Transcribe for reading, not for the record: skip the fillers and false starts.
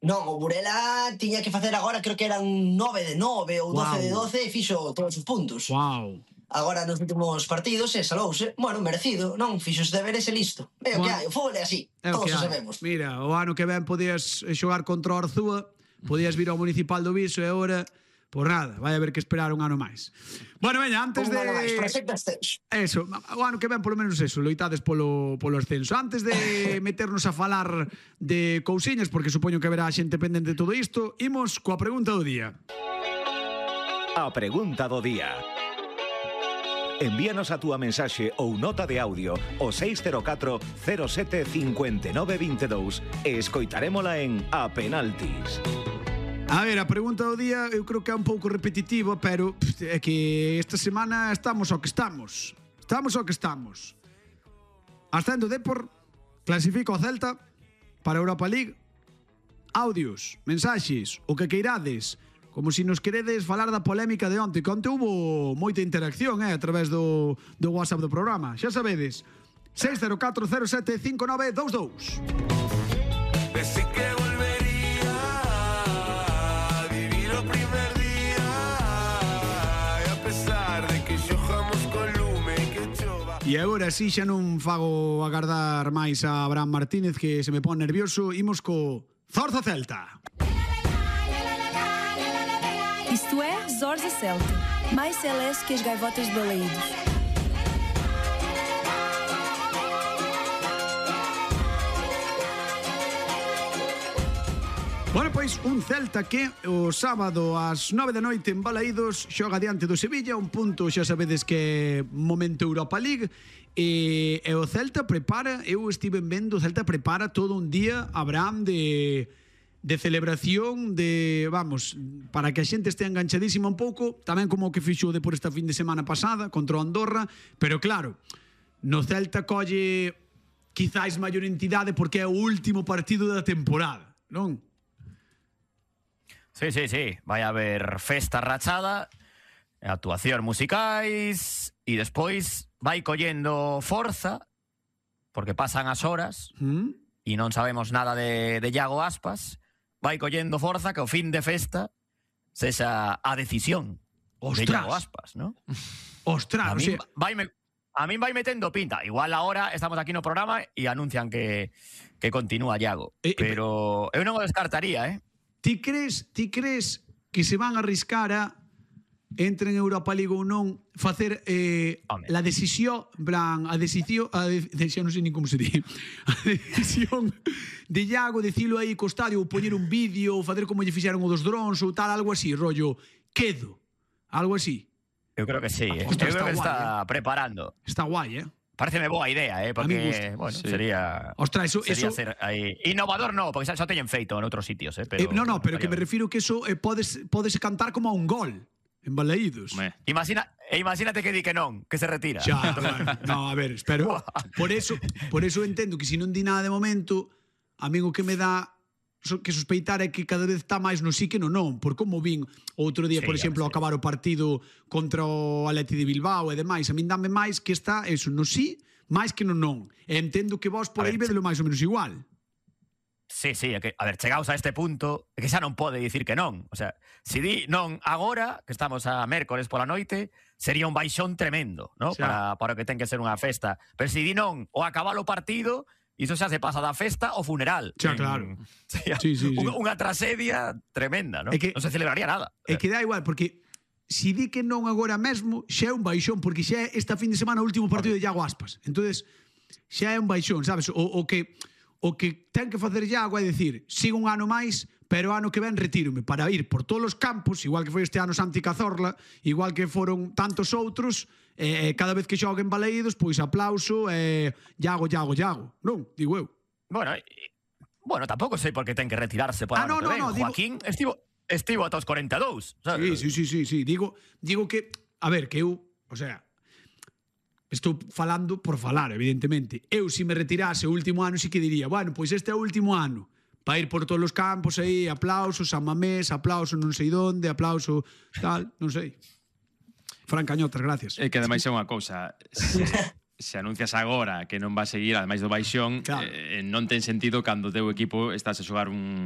Non, o Burela tiña que facer agora, creo que eran 9 de 9 ou 12 de 12 e fixo todos os puntos. Wow. Agora nos últimos partidos salouse, bueno, merecido, non? Fixo os deberes e listo. É o que hai, o fútbol é así, todos o sabemos. Mira, o ano que ven podías xogar contra o Arzúa, podías vir ao Municipal do Viso e agora, por nada, vai haber que esperar un ano máis. Bueno, veña, antes de... Un ano máis, proxecto ascenso. Eso, o ano que ven polo menos eso, loitades polo ascenso. Antes de meternos a falar de cousiñas, porque supoño que haberá xente pendente de todo isto, imos coa pregunta do día. A pregunta do día. Envíanos a túa mensaxe ou nota de audio ao 604 07 59 22 e escoitarémola en A Penaltis. A ver, a pregunta do día eu creo que é un pouco repetitiva, pero é que esta semana estamos ao que estamos. Estamos ao que estamos. Ascendo Depor, clasifica o Celta para a Europa League. Audios, mensaxes, o que queirades, como se nos queredes falar da polémica de onte, que onte hubo moita interacción a través do WhatsApp do programa. Xa sabedes, 604 07 59 22. Pensé que volvería a vivir o primer día e a pesar de que xojamos con lume que chova. E agora si xa non fago agardar máis a Abraham Martínez, que se me pon nervioso. Imos co Zorza Celta. Isto é Zorza Celta, mais celeste que as gaivotas de Balaídos. Bueno, pois un Celta que o sábado ás 9 da noite en Balaídos xoga diante do Sevilla, un punto xa sabedes que é momento Europa League, e o Celta prepara, eu estive vendo, o Celta prepara todo un día, Abraham, de celebración, de, vamos, para que a xente este enganchadísima un pouco, tamén como o que fixo de por esta fin de semana pasada contra o Andorra, pero claro, no Celta colle quizáis maior entidade porque é o último partido da temporada, non? Sí, sí, sí. Vai haber festa rachada, actuación musicais e despois vai collendo forza porque pasan as horas e non sabemos nada de Iago Aspas. Vai collendo forza que o fin de festa sexa a decisión de Iago Aspas, ¿no? Ostras, a min vai metendo pinta. Igual ahora estamos aquí no programa e anuncian que continúa Iago. Pero eu non o descartaría, Ti crees que se van a arriscar a entre en Europa League ou non facer la decisión, a decisión, non sei nin como se di, a decisión de Iago, dicilo aí co estadio, ou poñer un vídeo, ou facer como lle fixeron o dos drones ou tal, algo así, rollo, quedo, algo así. Eu creo que sí, eu creo que está preparando. Está guai, Pareceme boa idea, porque, bueno, sí. sería... Ostras, sería ser aí... Innovador no, porque xa teñen feito en outros sitios, pero... No, pero que me refiro que eso podes cantar como a un gol en Balaídos. Imagínate que di que non, que se retira. Xa, no, a ver, espero. Por eso entendo que se non di nada de momento, a mí o que me dá que sospeitar é que cada vez está máis no sí que no non, por como vin outro día, por exemplo, acabar o partido contra o Atleti de Bilbao e demais, a min dame máis que está eso, no sí, máis que no non. E entendo que vos por aí vedelo máis ou menos igual. Sí, é que, a ver, chegaos a este punto, é que xa non pode dicir que non. O sea, se di non agora, que estamos a mércores pola noite, sería un baixón tremendo, ¿no? Para o que ten que ser unha festa. Pero se di non o acabar o partido, iso xa se pasa da festa ao funeral. Xa, claro. Sí. Unha tragedia tremenda, ¿no? Non se celebraría nada. É que dá igual, porque se di que non agora mesmo, xa é un baixón, porque xa é esta fin de semana o último partido de Iago Aspas. Entonces, xa é un baixón, sabes? O que ten que facer Iago é dicir, sigo un ano máis, pero ano que ven retírome para ir por todos os campos, igual que foi este ano Santi Cazorla, igual que foron tantos outros, cada vez que xogue en Balaídos, pois aplauso, Iago, non, digo eu. Bueno, tampouco sei por que ten que retirarse por ano que ven. Joaquín estivo ata os 42, sabes? Sí, digo que, a ver, que eu, o sea, estou falando por falar, evidentemente. Eu, se me retirase o último ano, sí que diría, bueno, pois este é o último ano, para ir por todos os campos aí, aplauso, San Mamés, aplauso non sei donde, aplauso tal, non sei. Fran Cañotas, gracias. É que ademais é unha cousa, se anuncias agora que non va a seguir, ademais do baixón, non ten sentido cando o teu equipo estás a xogar un